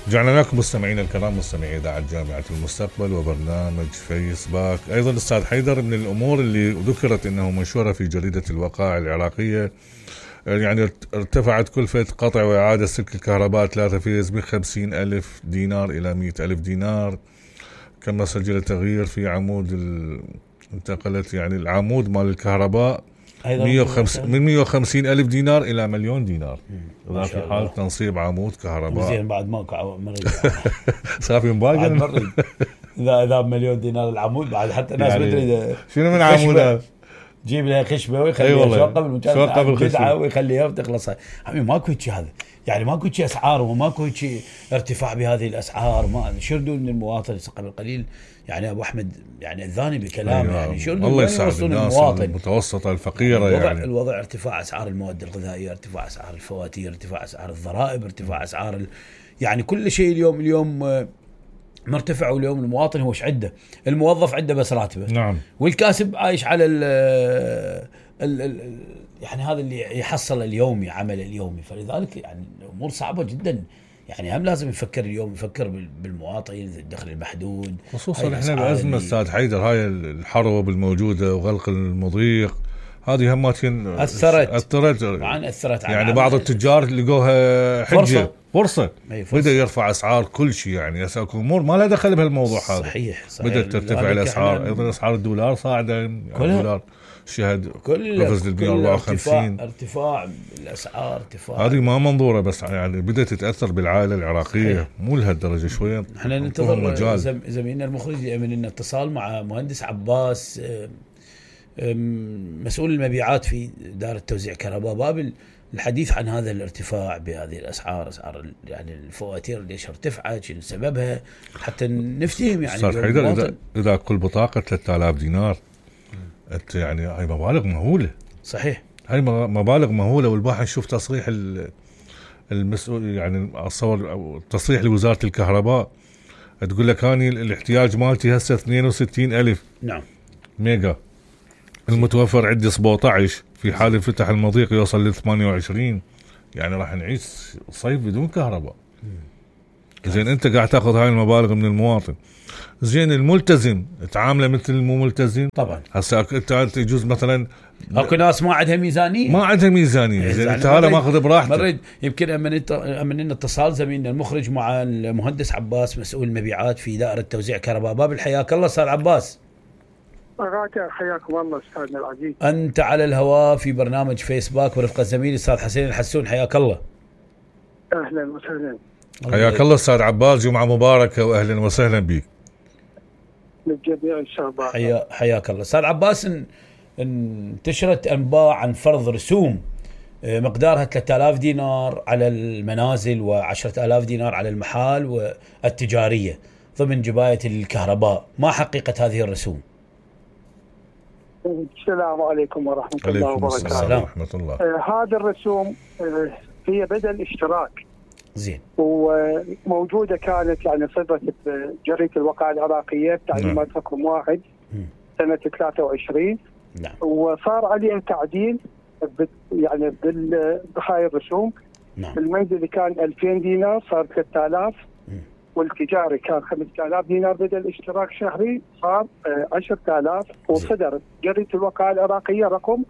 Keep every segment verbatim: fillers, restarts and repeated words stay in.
رجعنا لكم مستمعينا الكرام، مستمعي إذاعة جامعة المستقبل وبرنامج فيس باك. أيضا أستاذ حيدر، من الأمور اللي ذكرت أنه منشورة في جريدة الوقائع العراقية، يعني ارتفعت كلفة قطع وإعادة سلك الكهرباء ثلاثة فيز من خمسين ألف دينار إلى مئة ألف دينار. كما سجل تغيير في عمود ال... انتقلت يعني العمود مال الكهرباء مئة وخمسين من مئة وخمسين ألف دينار إلى مليون دينار. إذا في حال تنصيب عمود كهرباء زين بعد ماكو مريض صار في مباقي مريض إذا إذا بمليون دينار العمود بعد حتى ناس يعني بدري شنو من عمودها جيب لها خشبه ويخليها أيوة شوقه بالمكان بدعه ويخليها وتخلص. حبيبي ماكو شيء هذا، يعني ماكو شيء اسعار وماكو شيء ارتفاع بهذه الاسعار. ما شردوا من المواطن قبل قليل يعني ابو احمد يعني الذاني بكلام أيوة. يعني شردوا الله يساعد الناس المواطن المتوسطه الفقيره يعني الوضع, يعني الوضع ارتفاع اسعار المواد الغذائيه، ارتفاع اسعار الفواتير، ارتفاع اسعار الضرائب، ارتفاع اسعار ال... يعني كل شيء اليوم اليوم مرتفع. واليوم المواطن هو ايش عنده؟ الموظف عنده بس راتبه، نعم، والكاسب عايش على ال ال ال يعني هذا اللي يحصل اليومي، عمل اليومي. فلذلك يعني الامور صعبه جدا. يعني هم لازم يفكر اليوم، يفكر بالمواطن، الدخل المحدود، خصوصا احنا بأزمة استاذ حيدر. هاي الحرب الموجوده وغلق المضيق هذه هماتين اثرت اثرت طبعا اثرت يعني بعض التجار لقوها حجه فرصه, فرصة. بدا يرفع اسعار كل شيء، يعني امور ما لها دخل بهالموضوع هذا. صحيح, صحيح. بدات ترتفع الاسعار، ايضا اسعار الدولار صاعده، يعني الدولار شهد قفز ل مئة وأربعة وخمسين. ارتفاع الاسعار، ارتفاع هذه ما منظوره، بس يعني بدات تتاثر بالعائله العراقيه مو لهالدرجه شويه. احنا ننتظر زميلنا المخرج يعمل لنا اتصال مع مهندس عباس مسؤول المبيعات في دار توزيع كهرباء بابل، الحديث عن هذا الارتفاع بهذه الاسعار، اسعار يعني الفواتير ليش ارتفعت، شنو سببها، حتى نفتهم يعني. صار حيدر اذا اذا كل بطاقه ثلاثة آلاف دينار انت يعني هاي مبالغ مهوله. صحيح، هاي مبالغ مهوله. والباحث نشوف تصريح المسؤول يعني اتصور او تصريح لوزاره الكهرباء تقول لك اني الاحتياج مالتي هسه اثنين وستين ألف نعم ميجا، المتوفر عندي سبعة عشر، في حال انفتح المضيق يوصل ل ثمانية وعشرين. يعني راح نعيش صيف بدون كهرباء. زين انت قاعد تاخذ هاي المبالغ من المواطن. زين الملتزم تعامله مثل المو ملتزم طبعا. هسه انت يجوز مثلا اكو ناس ما عندها ميزانيه ما عندها ميزانيه. زين انت هذا ماخذ براحته. مرد يمكن امن امن اتصال زميلنا المخرج مع المهندس عباس مسؤول المبيعات في دائره توزيع كهرباء بابل. حياك الله استاذ عباس. حياكم الله استاذنا العزيز. انت على الهواء في برنامج فيسباك ورفقه زميلي الاستاذ حسين الحسون. حياك الله. اهلا وسهلا. حياك الله استاذ عباس، جمعه مباركه واهلا وسهلا بك. للجميع ان شاء الله. حيا حياك الله استاذ عباس. انتشرت انباء عن فرض رسوم مقدارها ثلاثة آلاف دينار على المنازل وعشرة آلاف دينار على المحال والتجاريه ضمن جبايه الكهرباء. ما حقيقه هذه الرسوم؟ السلام عليكم ورحمة الله وبركاته. السلام ورحمة الله. آه هذه الرسوم آه هي بدل اشتراك. زين. وموجودة كانت يعني صدرت بجريدة الوقائع العراقية بتعليمات رقم واحد سنة ثلاثة وعشرين. نعم. وصار عليها تعديل يعني بهاي الرسوم. نعم. المنزلي كان ألفين دينار صار ثلاثة آلاف. والتجاري كان خمسة آلاف دينار بدل اشتراك شهري صار عشرة آلاف. وصدر جريدة الوقائع العراقية رقم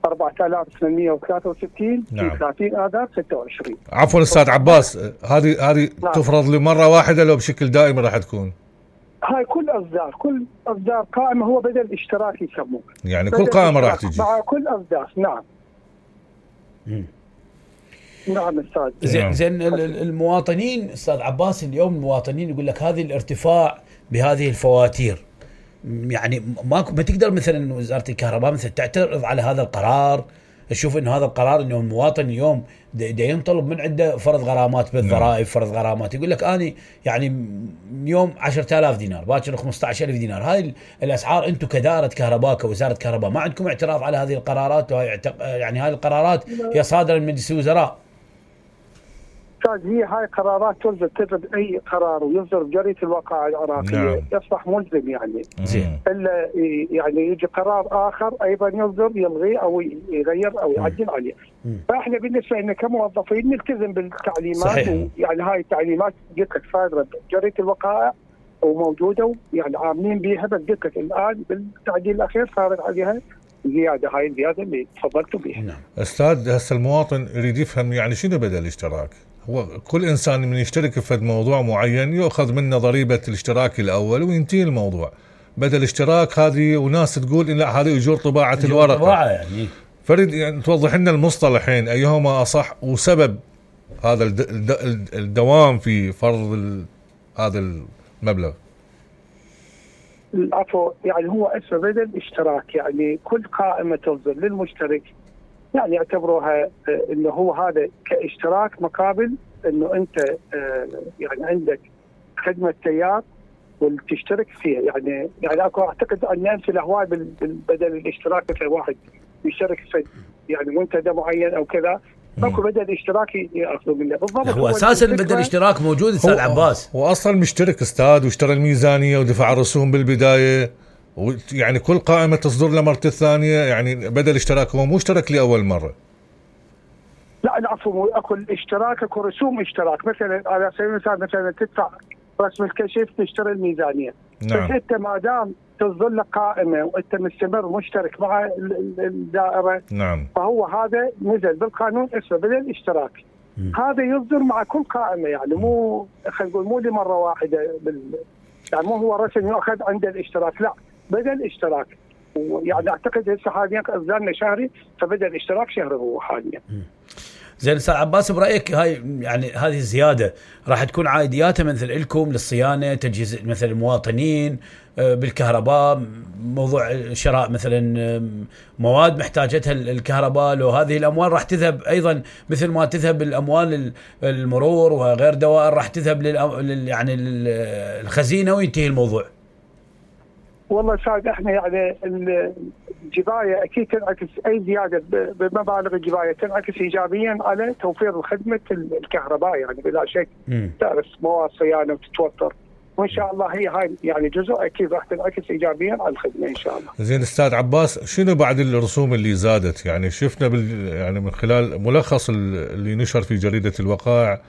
أربعة آلاف وثمانمئة وثلاثة وستين نعم. في ثلاثين آذار ستة وعشرين. عفوا استاذ عباس، هذه هذه نعم. تفرض لمرة واحدة لو بشكل دائم راح تكون؟ هاي كل اصدار كل اصدار قائمة هو بدل اشتراك يسموه. يعني كل قائمة راح تجي مع كل اصدار. نعم. مم. نعم استاذ. زين زين المواطنين استاذ عباس اليوم المواطنين يقول لك هذه الارتفاع بهذه الفواتير، يعني ما ما تقدر مثلا وزاره الكهرباء مثلا تعترض على هذا القرار، تشوف انه هذا القرار انه المواطن اليوم دا ينطلب من عنده فرض غرامات بالضرائب، فرض غرامات. يقول لك اني يعني اليوم عشرة آلاف دينار باكر خمسة عشر ألف دينار. هاي الاسعار انتم كدائره كهرباء كوزاره كهرباء ما عندكم اعتراض على هذه القرارات؟ وهي يعني هذه القرارات هي صادره من مجلس الوزراء. هي هاي قرارات تصدر تصدر اي قرار ويصدر بجريدة الوقائع العراقية نعم. يصبح ملزم يعني. زين. الا يعني يجي قرار اخر ايضا يصدر يلغي او يغير او يعدل عليه. فاحنا بالنسبه لنا كموظفين نلتزم بالتعليمات. صحيح. يعني هاي التعليمات قلت لك صادره جريده الوقائع وموجوده يعني عاملين بيها، بس قلت لك الان بالتعديل الاخير صارت عليها زياده، هاي الزياده اللي تفضلتوا بها. نعم. استاذ هسه المواطن يريد يفهم يعني شنو بدل الاشتراك؟ هو كل انسان من يشترك في موضوع معين يؤخذ منه ضريبه الاشتراك الاول وينتهي الموضوع. بدل اشتراك هذه وناس تقول إن لا هذه اجور طباعه الورقه. طباعه يعني. فريد يعني توضح لنا المصطلحين ايهما اصح وسبب هذا الدوام في فرض هذا المبلغ. العفو، يعني هو اسمه بدل اشتراك، يعني كل قائمه تصدر للمشترك يعني يعتبروها انه هو هذا كاشتراك مقابل انه انت يعني عندك خدمه سيار وتشترك فيها. يعني يعني اكو اعتقد ان امثله هواي بدل الاشتراك، مثل واحد يشترك في يعني منتدى معين او كذا، اكو بدل اشتراكي ياخذوا منه بالضبط. هو اساسا بدل اشتراك موجود استاذ عباس. هو اصلا مشترك استاذ واشترى الميزانيه ودفع الرسوم بالبدايه، يعني كل قائمه تصدر له مرته الثانيه، يعني بدل اشتراك هو مو اشترك لاول مره. لا العفو، اكو الاشتراك اكو رسوم اشتراك. مثلا على سبيل المثال مثلا تدفع رسم الكشف تشتري الميزانيه. نعم. بس انت ما دام تصدر لك قائمه وانت مستمر مشترك مع الدائره، نعم، فهو هذا نزل بالقانون اسمه بدل اشتراك. م. هذا يصدر مع كل قائمه، يعني مو خلينا نقول مو لمره واحده بال... يعني مو هو رسم يؤخذ عند الاشتراك، لا بدل اشتراك. ويعني اعتقد هسه حاليا اصدارنا شهري، فبدل اشتراك شهري هو حاليا. زين استاذ عباس، برايك هاي يعني هذه الزياده راح تكون عائدياتها مثل لكم للصيانه، تجهيز مثل المواطنين بالكهرباء، موضوع شراء مثلا مواد محتاجتها الكهرباء، لو هذه الاموال راح تذهب ايضا مثل ما تذهب الاموال المرور وغير دوائر راح تذهب لل يعني الخزينه وينتهي الموضوع؟ والله سعد احنا يعني الجبايه اكيد تنعكس، اي زياده بمبالغ الجبايه تنعكس ايجابيا على توفير خدمه الكهرباء يعني بلا شك. تعرف مواد صيانه وتتوفر، وان شاء الله هي هاي يعني جزء اكيد راح تنعكس ايجابيا على الخدمه ان شاء الله. زين استاذ عباس، شنو بعد الرسوم اللي زادت؟ يعني شفنا بال يعني من خلال ملخص اللي نشر في جريده الوقائع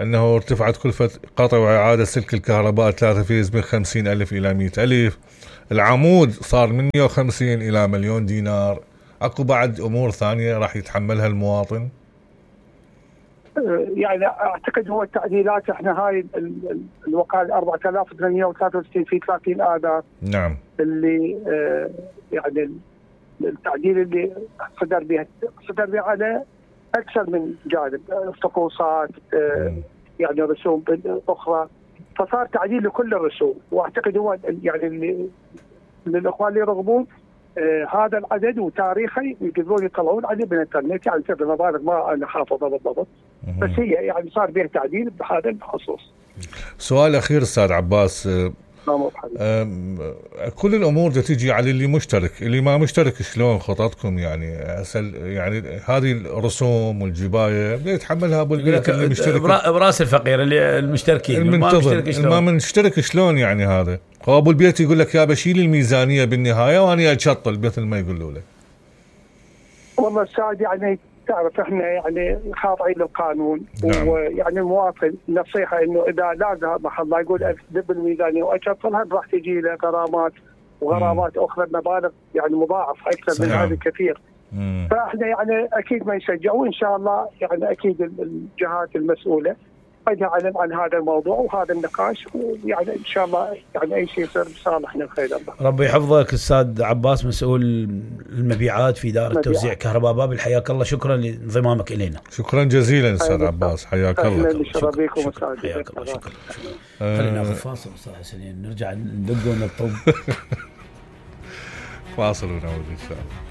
انه ارتفعت كلفه قطع واعاده سلك الكهرباء ثلاثة فيز من خمسين ألف الى مئة ألف، العمود صار من مئة وخمسين الى مليون دينار. اكو بعد امور ثانيه راح يتحملها المواطن؟ يعني اعتقد هو التعديلات احنا هاي الوقائع أربعة آلاف وثمانمئة وثلاثة وستين في ثلاثين آذار. نعم. اللي اه يعني التعديل اللي صدر بها صدر بها على اكثر من جانب، طقوسات اه يعني رسوم اخرى، فصار تعديل لكل الرسوم. واعتقد هو يعني اللي للاخوان اللي يرغبون آه هذا العدد وتاريخه يقدرون يطلعون عليه بالانترنت، يعني سبب المبالغ ما انا حافظها بالضبط، بس هي يعني صار بها تعديل بهذا الخصوص. سؤال اخير استاذ عباس، كل الامور تيجي على اللي مشترك، اللي ما مشترك شلون خططكم؟ يعني يعني هذه الرسوم والجبايه يتحملها ابو البيت اللي مشترك براس الفقير اللي المشتركين المنتظر ما مشترك شلون؟ يعني هذا هو ابو البيت يقول لك يا بشيل الميزانيه بالنهايه وانا اشطل مثل ما يقولوا له. والله سعد يعني تعرف احنا يعني خاضعين للقانون. نعم. ويعني المواطن نصيحه انه اذا لاقى محل لا يقول اكذب الميزانيه واشطلها راح تجي له غرامات وغرامات مم. اخرى بمبالغ يعني مضاعفه اكثر صحيح. من هذا كثير. مم. فاحنا يعني اكيد ما يشجع، وان شاء الله يعني اكيد الجهات المسؤوله قد اعلن عن هذا الموضوع وهذا النقاش، ويعني ان شاء الله يعني اي شيء يصير بصالحنا الخير الله. ربي يحفظك استاذ عباس، مسؤول المبيعات في دائره مبيعات. توزيع كهرباء بابل، حياك الله، شكرا لانضمامك الينا. شكرا جزيلا استاذ عباس، حياك الله. شكرا بكم استاذ، حياك الله. شكرا. خلينا ناخذ فاصل استاذ حسين، نرجع ندق ونطب. فاصل ونعود ان شاء الله.